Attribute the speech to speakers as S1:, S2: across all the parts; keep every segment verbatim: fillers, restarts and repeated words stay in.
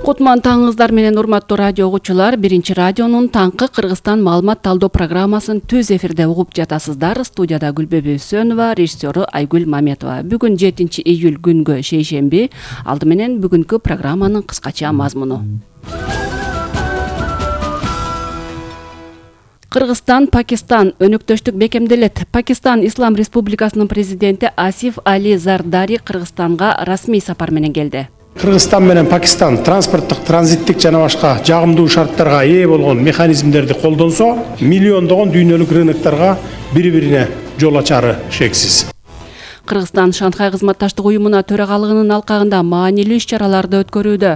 S1: Кутман таңыңыздар менен урматтуу радио угуучулар, биринчи радионун таңкы Кыргызстан маалымат талдоо программасын түз эфирде угуп жатасыздар. Студияда Гүлбөбү Сөнова, режиссеру Айгүл Маметова. Бүгүн жетинчи июль күнгө шейшемби. Алды менен бүгүнкү программанын кыскача мазмуну. Кыргызстан, Пакистан өнөктөштүк бекемделет. Пакистан Ислам Республикасынын президенти Асиф Али Зардари Кыргызстанга расмий сапар менен келди.
S2: Кыргызстан менен Пакистан транспорттук, транзиттик жана башка жагымдуу шарттарга ээ болгон механизмдерди колдонсо, миллиондогон дүйнөлүк рыноктарга бири-бирине жол ачары шексиз.
S1: Кыргызстан Шанхай кызматташтык уюмуна төрагалыгынын алкагында маанилүү иш-чараларды өткөрүүдө.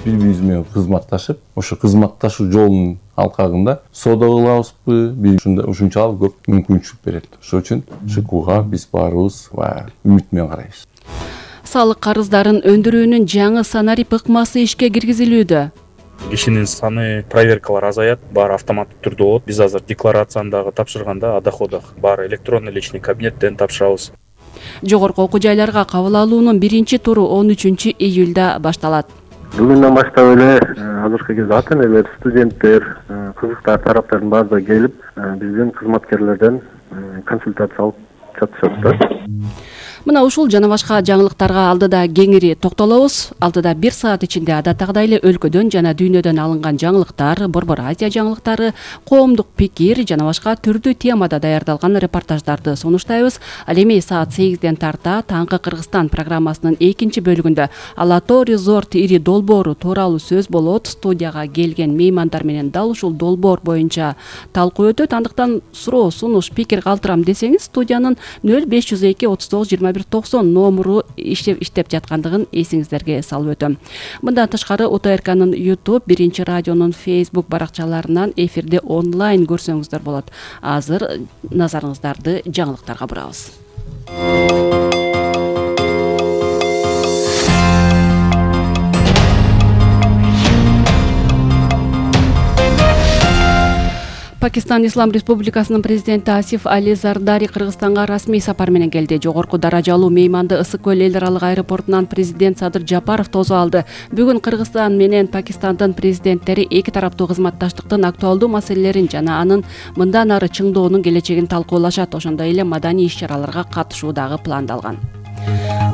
S3: Бири-бирибиз менен кызматташып, ошо кызматташуу жолунун алкагында соода кылабызбы, биз ушунчалык көп мүмкүнчүлүк берет. Ошол үчүн ШКУга биз баарыбыз үмүт менен карайбыз.
S1: Салык карыздарын өндүрүүнүн жаңы санарип ыкмасы ишке киргизилүүдө.
S4: Кишинин саны, проверкалар азаят, баары автоматтык түрдө болот. Биз азыр декларацияны дагы тапшырганда, а доходах баары электронный личный кабинеттен тапшырабыз.
S1: Жогорку окуу жайларга кабыл алуунун биринчи туру он үчүнчү июлда башталат.
S5: Бүгүндөн баштап эле азыркы кезде ата энелер, студенттер, кызыктар тараптардын баардыгы келип, биздин кызматкерлерден консультация алып жатышат да.
S1: Мына ушул жана башка жаңылыктарга алдыда кеңири токтолобуз. Алдыда бир саат ичинде адаттагыдай эле өлкөдөн жана дүйнөдөн алынган жаңылыктар, Борбор Азия жаңылыктары, коомдук пикир жана башка түрдүү темада даярдалган репортаждарды сунуштайбыз. Ал эми саат сегизден тарта таңкы Кыргызстан программасынын экинчи бөлүгүндө Ала Тоо резорт ири долбоору тууралуу сөз болот. Студияга келген меймандар менен дал ушул долбоор боюнча талкуу өтөт. Андыктан суроо, сунуш, пикир калтырам десеңиз, студиянын нөл беш жүз эки отуз тогуз жыйырма бир токсон номуру иштеп иштеп жаткандыгын эсиңиздерге салып өтөм. Мындан тышкары У Т Р К'нын YouTube, биринчи радионун Facebook баракчаларынан эфирде онлайн көрсөңүздөр болот. Азыр назарыңыздарды жаңылыктарга бурабыз. Пакистан Ислам Республикасынын президенти Асиф Али Зардари Кыргызстанга расмий сапар менен келди. Жогорку даражалуу мейманды Ысык көл эл аралык аэропортунан президент Садыр Жапаров тосуп алды. Бүгүн Кыргызстан менен Пакистандын президенттери эки тараптуу кызматташтыктын актуалдуу маселелерин жана анын мындан ары чыңдоонун келечегин талкуулашат. Ошондой эле маданий иш-чараларга катышуу дагы пландалган.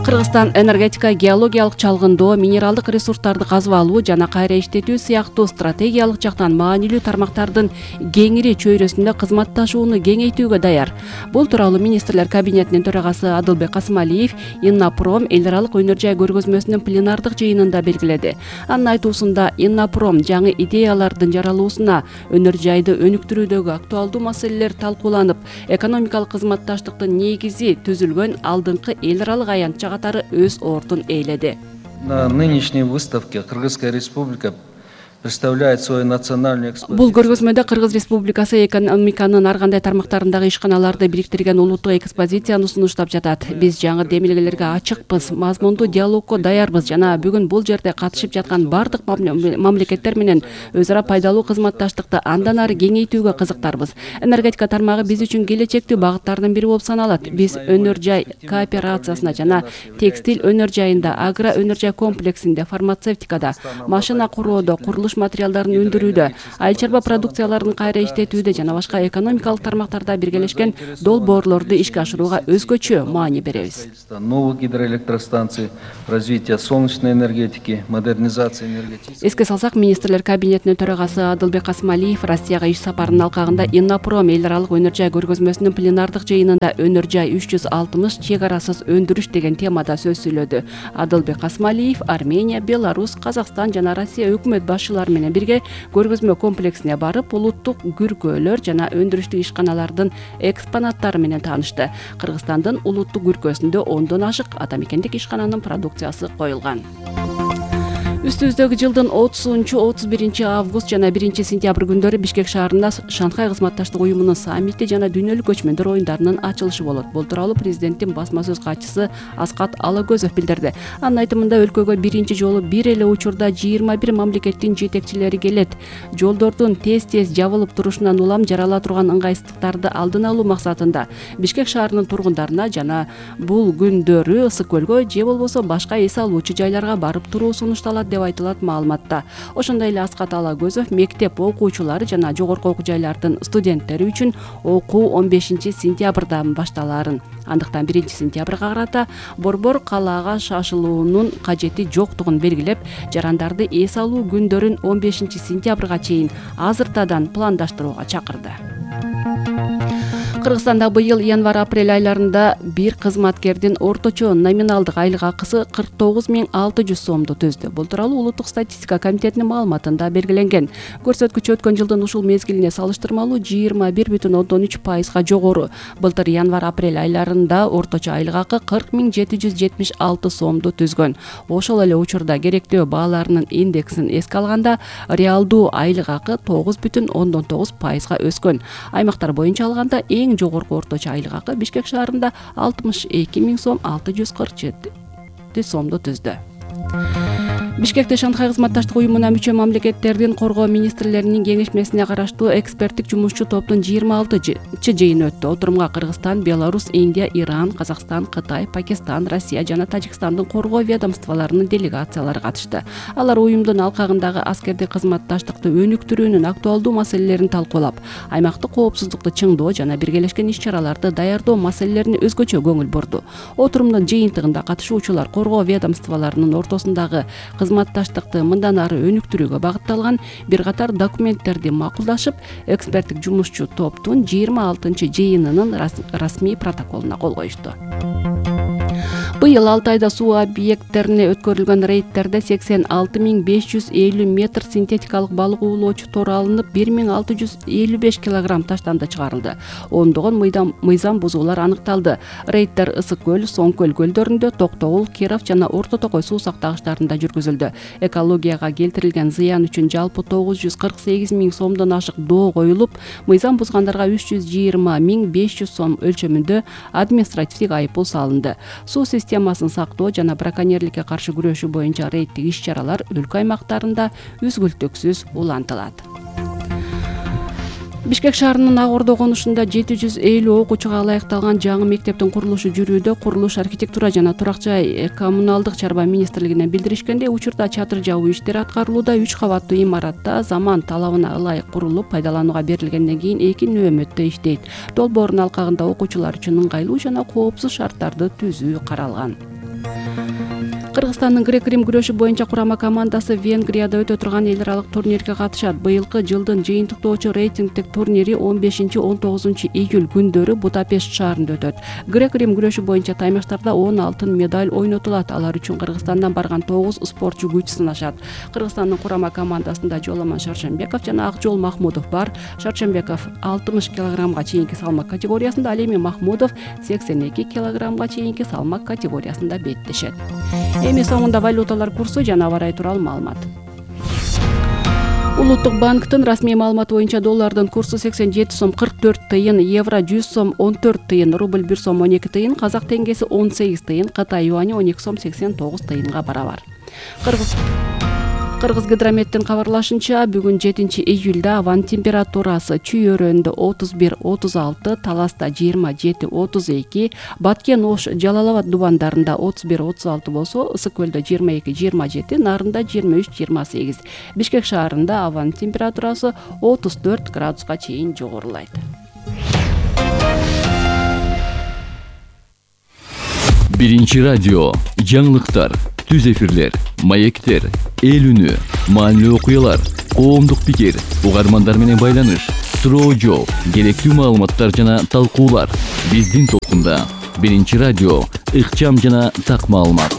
S1: Кыргызстан энергетика, геологиялык чалгындоо, минералдык ресурстарды казып алуу жана кайра иштетүү сыяктуу стратегиялык жактан маанилүү тармактардын кеңири чөйрөсүндө кызматташууну кеңейтүүгө даяр. Бул тууралуу министрлер кабинетинин төрагасы Адылбек Касымалиев Иннопром эл аралык өнөр жай көргөзмөсүнүн пленардык жыйынында белгиледи. Анын айтуусунда Иннопром жаңы идеялардын жаралуусуна, өнөр жайды өнүктүрүүдөгү актуалдуу маселелер талкууланып, экономикалык кызматташтыктын негизи түзүлгөн алдыңкы эл аралык аянтча катары өз ордун ээледи.
S6: На нынешней выставке Кыргызская республика представляет свой национальный экспозицию.
S1: Бул көргөзмөдө Кыргыз Республикасы экономиканын ар кандай тармактарындагы ишканаларды бириктирген улуттук экспозицияны сунуштап жатат. Биз жаңы демилгелерге ачыкпыз, мазмундуу диалогко даярбыз жана бүгүн бул жерде катышып жаткан бардык мамлекеттер менен өз ара пайдалуу кызматташтыкты андан ары кеңейтүүгө кызыктарбыз. Энергетика тармагы биз үчүн келечектүү багыттардын бири болуп саналат. Биз өнөр жай кооперациясына жана текстиль өнөр жайында, агро өнөр жай комплексинде, фармацевтикада, машина куруудо, курулуш материалдарын өндүрүүдө, айыл чарба продукцияларын кайра иштетүүдө жана башка экономикалык тармактарда биргелешкен долбоорлорду ишке ашырууга өзгөчө маани беребиз.
S6: Новых гидроэлектростанций, развитие солнечной энергетики, модернизация энергетики.
S1: Эске салсак, министрлер кабинетинин төрагасы Адылбек Касымалиев Россияга иш сапарынын алкагында Иннопром эл аралык өнөр жай көргөзмөсүнүн пленардык жыйынында өнөр жай үч жүз алтымыш чек арасыз өндүрүш деген темада сөз сүйлөдү. Адылбек Касымалиев Армения, Беларусь, Казакстан жана Россия өкмөт башчылары менен бирге көргөзмө комплексине барып, улуттук күркөлөр жана өндүрүштүк ишканалардын экспонаттары менен таанышты. Кыргызстандын улуттук күркөсүндө ондон ашык атамекендик ишкананын продукциясы коюлган. Үстүбүздөгү жылдын отузунчу отуз биринчи август жана биринчи сентябрь күндөрү Бишкек шаарында Шанхай кызматташтык уюмунун саммити жана дүйнөлүк көчмөндөр оюндарынын ачылышы болот. Бул тууралуу президенттин басма сөз катчысы Аскат Алагөзов билдирди. Анын айтымында өлкөгө биринчи жолу бир эле учурда жыйырма бир мамлекеттин жетекчилери келет. Жолдордун тез-тез жабылып турушунан улам жарала турган ыңгайсыздыктарды алдын алуу максатында Бишкек шаарынын тургундарына жана бул күндөрү Ысык көлгө же болбосо башка эс алуучу жайларга барып туруу сунушталат деп айтылат маалыматта. Ошондой эле Аскат Алагөзов мектеп окуучулары жана жогорку окуу жайлардын студенттери үчүн окуу он бешинчи сентябрдан башталаарын, андыктан биринчи сентябрга карата борбор калаага шашылуунун кажети жоктугун белгилеп, жарандарды эс алуу күндөрүн он бешинчи сентябрга чейин азыртадан пландаштырууга чакырды. Кыргызстанда быйыл январь-апрель айларында бир кызматкердин орточо номиналдык айлык акысы кырк тогуз миң алты жүз сомду түздү. Бул тууралуу Улуттук статистика комитетинин маалыматында белгиленген. Көрсөткүч өткөн жылдын ушул мезгилине салыштырмалуу жыйырма бир бүтүн ондон үч пайызга жогору. Былтыр январь-апрель айларында орточо айлык акы кырк миң жети жүз жетимиш алты сомду түзгөн. Ошол эле учурда керектөө бааларынын индексин эске алганда, реалдуу айлык акы тогуз бүтүн ондон тогуз пайызга өскөн. Аймактар боюнча алганда эң жогорку орточо айлык акы Бишкек шаарында алтымыш эки миң сом алты жүз кырк жети сомду түздү. Бишкекте Шанхай кызматташтык уюмуна мүчө мамлекеттердин коргоо министрлеринин кеңешмесине караштуу эксперттик жумушчу топтун жыйырма алтынчы жыйыны өттү. Отурумга Кыргызстан, Беларусь, Индия, Иран, Казакстан, Кытай, Пакистан, Россия жана Тажикстандын коргоо ведомстволорунун делегациялары катышты. Алар уюмдун алкагындагы аскердик кызматташтыкты өнүктүрүүнүн актуалдуу маселелерин талкуулап, аймактык коопсуздукту чыңдоо жана биргелешкен иш-чараларды даярдоо маселелерине өзгөчө көңүл бурду. Отурумдун жыйынтыгында катышуучулар коргоо ведомстволорунун ортосундагы кызматташтыкты мындан ары өнүктүрүүгө багытталган бир катар документтерди макулдашып, эксперттик жумушчу топтун жыйырма алтынчы жыйынынын расмий протоколуна кол коюшту. Быйыл алты айда суу объекттерине өткөрүлгөн рейдтерде сексен алты миң беш жүз элүү метр синтетикалык балык уулоочу тор алынып, бир миң алты жүз элүү беш килограмм таштанды чыгарылды. Ондогон мыйзам бузуулар аныкталды. Рейдтер Ысык көл, Соң көл көлдөрүндө, Токтогул, Киров жана Орто Токой суу сактагычтарында жүргүзүлдү. Экологияга келтирилген зыян үчүн жалпы тогуз жүз кырк сегиз миң сомдон ашык доо коюлуп, мыйзам бузгандарга үч жүз жыйырма миң беш жүз сом өлчөмүндө административдик айыппул салынды. Суу системасын сактоо жана браконьерликке каршы күрөшүү боюнча рейдтик иш-чаралар өлкө аймактарында үзгүлтүксүз улантылат. Бишкек шаарынын Ак Ордо конушунда жети жүз элүү окуучуга ылайыкталган жаңы мектептин курулушу жүрүүдө. Курулуш, архитектура жана турак жай коммуналдык чарба министрлигинен билдиришкендей, учурда чатыр жабуу иштери аткарылууда. Үч кабаттуу имаратта заман талабына ылайык курулуп, пайдаланууга берилгенден кийин эки нөөмөттө иштейт. Долбоордун алкагында окуучулар үчүн ыңгайлуу жана коопсуз шарттарды түзүү каралган. Кыргызстандын грек-рим күрөшү боюнча курама командасы Венгрияда өтө турган эл аралык турнирге катышат. Быйылкы жылдын жыйынтыктоочу рейтингдик турнири он бешинчи он тогузунчу июль күндөрү Будапешт шаарында өтөт. Грек-рим күрөшү боюнча таймаштарда он алтын медаль ойнотулат. Алар үчүн Кыргызстандан барган тогуз спортчу күч сынашат. Кыргызстандын курама командасында Жоламан Шаршембеков жана Акжол Махмудов бар. Шаршембеков алтымыш килограммга чейинки салмак категориясында, ал эми Махмудов сексен эки килограммга чейинки салмак категориясында беттешет. Эми соңунда валюталар курсу жана аба ырайы тууралуу маалымат. Улуттук банктын расмий маалыматы боюнча доллардын курсу сексен жети сом кырк төрт тыйын, евро жүз сом он төрт тыйын, рубль бир сом он эки тыйын, казак теңгеси он сегиз тыйын, Кытай юани он эки сом сексен тогуз тыйынга барабар. Кыргыз Кыргыз гидрометтин кабарлашынча, бүгүн жетинчи июлда абанын температурасы Чүй өрөөнүндө отуз бир отуз алты, Таласта жыйырма жети отуз эки, Баткен, Ош, Жалал Абад дубандарында отуз бир отуз алты болсо, Ысык көлдө жыйырма эки жыйырма жети, Нарында жыйырма үч жыйырма сегиз. Бишкек шаарында абанын температурасы отуз төрт градуска чейин жогорулайт.
S7: Биринчи радио, жаңылыктар, түз эфирлер, маектер, эл үнү, маанилүү окуялар, коомдук пикир, угармандар менен байланыш, суроо жооп, керектүү маалыматтар жана талкуулар. Биздин толкунда Биринчи радио, ыкчам жана так маалымат.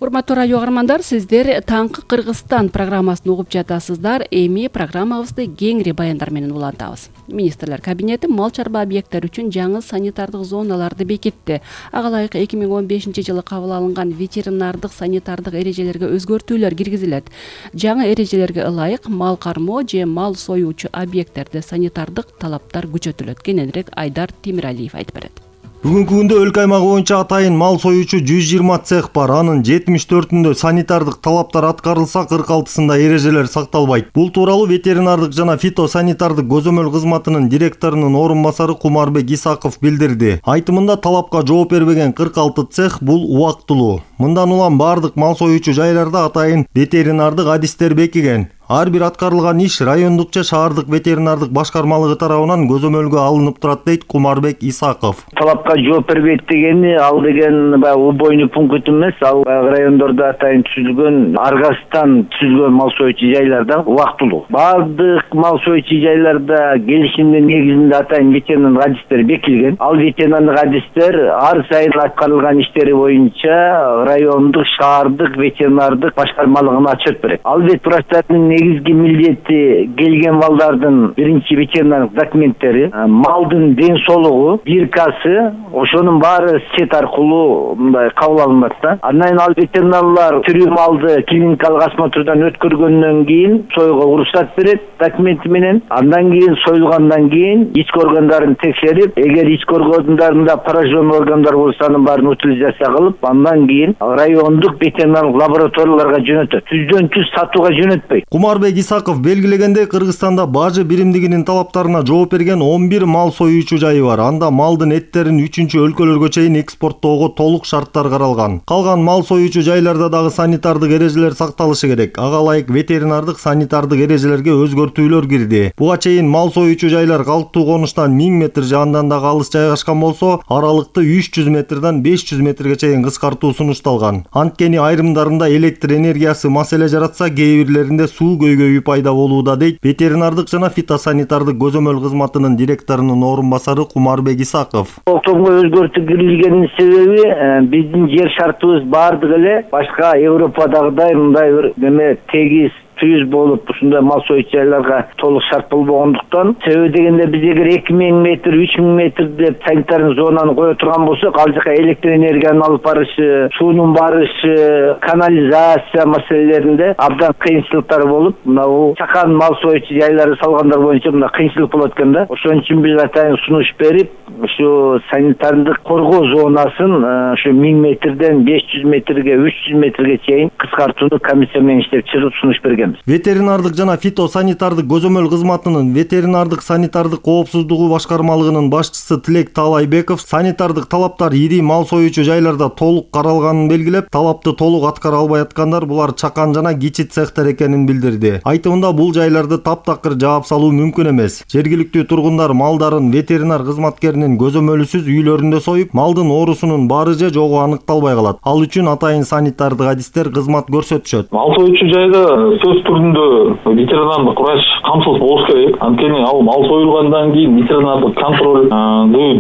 S1: Урматтуу радио угармандар, сиздер Таңкы Кыргызстан программасын угуп жатасыздар. Эми программабызды кеңири баяндар менен улантабыз. Министрлер кабинети мал чарба объекттери үчүн жаңы санитардык зоналарды бекитти. Ага ылайык эки миң он бешинчи жылы кабыл алынган ветеринардык санитардык эрежелерге өзгөртүүлөр киргизилет. Жаңы эрежелерге ылайык мал кармоо же мал союучу объекттерде санитардык талаптар күчөтүлөт. Кененирээк Айдар Темиралиев айтып берет.
S8: Бүгүнкү күндө өлкө аймагы боюнча атайын мал союучу жүз жыйырма цех бар. Анын жетимиш төртүндө санитардык талаптар аткарылса, кырк алтысында эрежелер сакталбайт. Бул тууралуу ветеринардык жана фитосанитардык көзөмөл кызматынын директорунун орун басары Кумарбек Исаков билдирди. Айтымында талапка жооп бербеген кырк алты цех бул убактылуу. Мындан улам бардык мал союучу жайларда атайын ветеринардык адистер бекиген. Ар бир аткарылган иш райондук же шаардык ветеринардык башкармалыгы тарабынан көзөмөлгө алынып турат, дейт Кумарбек Исаков.
S9: Талапка жооп бербейт дегени, ал деген баягы убойный пункт эмес, ал райондордо атайын түзүлгөн, аргасыздан түзүлгөн мал союучу жайларда убактылуу. Бардык мал союучу жайларда келишимдин негизинде атайын ветеринардык адистер бекилген. Ал ветеринардык адистер ар сайын аткарылган иштери боюнча райондук, шаардык ветеринардык башкармалыгына отчет берет. Ал ветврачтардын негизги милдети келген малдардын биринчи ветеринардык документтери, малдын ден соолугу, биркасы, ошонун баары сет аркылуу мындай кабыл алынат да. Андан кийин ал ветеринарлар тирүү малды клиникалык осмотрдан өткөргөндөн кийин союга уруксат берет документи менен. Андан кийин союлгандан кийин ички органдарын текшерип, эгер ички органдарында поражен органдар болсо анын баарын утилизация кылып, андан кийин райондук ветеринарлык лабораторияларга жөнөтөт. Түздөн түз сатууга жөнөтпөйт.
S8: Кумарбек Исаков белгилегендей, Кыргызстанда бажы биримдигинин талаптарына жооп берген он бир мал союучу жайы бар. Анда малдын эттерин үчүнчү өлкөлөргө чейин экспорттоого толук шарттар каралган. Калган мал союучу жайларда дагы санитардык эрежелер сакталышы керек. Ага ылайык ветеринардык санитардык эрежелерге өзгөртүүлөр кирди. Буга чейин мал союучу жайлар калктуу конуштан миң метр же андан дагы алыс жайгашкан болсо, аралыкты үч жүз метрден беш жүз метрге чейин кыскартуу сунушталган. Анткени айрымдарында электр энергиясы маселе жаратса, кээ бирлеринде суу көйгөйү пайда болууда, дейт ветеринардык жана фитосанитардык көзөмөл кызматынын директорунун орун басары Кумарбек Исаков.
S9: Октомго өзгөртүү кирилгенин себеби биздин жер шартыбыз бардыгы эле башка Европадагыдай мындай бир неме тегиз түйүз болуп, ушундай мал союучу жайларга толук шарт болбогондуктан, себеби дегенде биз эгер эки миң метр, үч миң метр деп санитарный зонаны кое турган болсок, ал жака электр энергиянын алып барышы, суунун барышы, канализация маселелеринде абдан кыйынчылыктар болуп, мына бул чакан мал союучу жайларды салгандар боюнча мына кыйынчылык болот экен да. Ошон үчүн биз атайын сунуш берип, ушу санитардык коргоо зонасын ушу миң метрден беш жүз метрге, үч жүз метрге чейин кыскартууну комиссия менен иштеп чыгып сунуш берген.
S8: Ветеринардык жана фитосанитардык көзөмөл кызматынын ветеринардык санитардык коопсуздугу башкармалыгынын башчысы Тилек Таалайбеков санитардык талаптар ири мал союучу жайларда толук каралганын белгилеп, талапты толук аткара албай аткандар булар чакан жана кичи цехтер экенин билдирди. Айтымында бул жайларды таптакыр жаап салуу мүмкүн эмес. Жергиликтүү тургундар малдарын ветеринар кызматкеринин көзөмөлүсүз үйлөрүндө союп, малдын оорусунун бары же жогу аныкталбай калат. Ал үчүн атайын санитардык адистер кызмат көрсөтүшөт.
S10: Мал союучу жайда сөз түрүндө ветеринардык врач камсыз болуш керек. Анткени ал мал союлгандан кийин ветеринардык контролду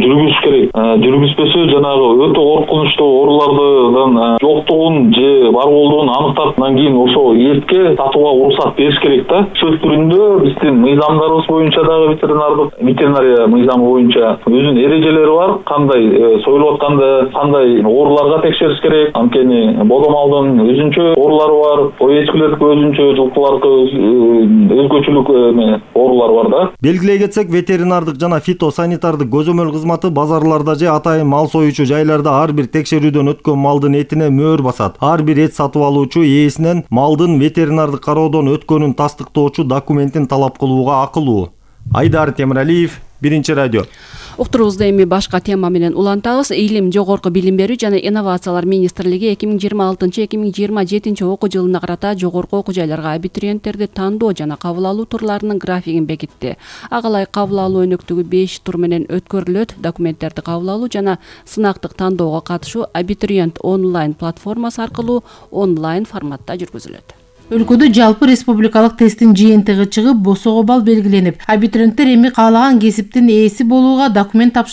S10: жүргүзүш керек. Жүргүзбөсө жанагы өтө коркунучтуу оорулардын жоктугун же бар болуун аныктап, андан кийин ошол эртке сатууга уруксат бериш керек да. Сөз түрүндө биздин мыйзамдарыбыз боюнча дагы ветеринардык ветеринария мыйзамы боюнча өзүнүн эрежелери бар. Кандай союлуп атканда кандай ооруларга текшериш керек. Анткени бодо малдын өзүнчө оорулары бар, ой эчкилердики өзүнчө, өзгөчөлүк оорулар бар да.
S8: Белгилей кетсек, ветеринардык жана фитосанитардык көзөмөл кызматы базарларда же атайын мал союучу жайларда ар бир текшерүүдөн өткөн малдын этине мөөр басат. Ар бир эт сатып алуучу ээсинен малдын ветеринардык кароодон өткөнүн тастыктоочу документин талап кылууга акылуу. Айдар Темиралиев, Биринчи радио.
S1: Уктурубузду эми башка тема менен улантабыз. Илим, жогорку билим берүү жана инновациялар министрлиги эки миң жыйырма алтынчы эки миң жыйырма жетинчи окуу жылына карата жогорку окуу жайларга абитуриенттерди тандоо жана кабыл алуу турларынын графигин бекитти. Ага ылайык кабыл алуу өнөктүгү беш тур менен өткөрүлөт. Документтерди кабыл алуу жана сынактык тандоого катышуу абитуриент онлайн платформасы аркылуу онлайн форматта жүргүзүлөт.
S11: Өлкөдө жалпы республикалык тесттин жыйынтыгы чыгып, босого балл белгиленип, абитуриенттер эми каалаган кесиптин ээси болууга документ тапшырып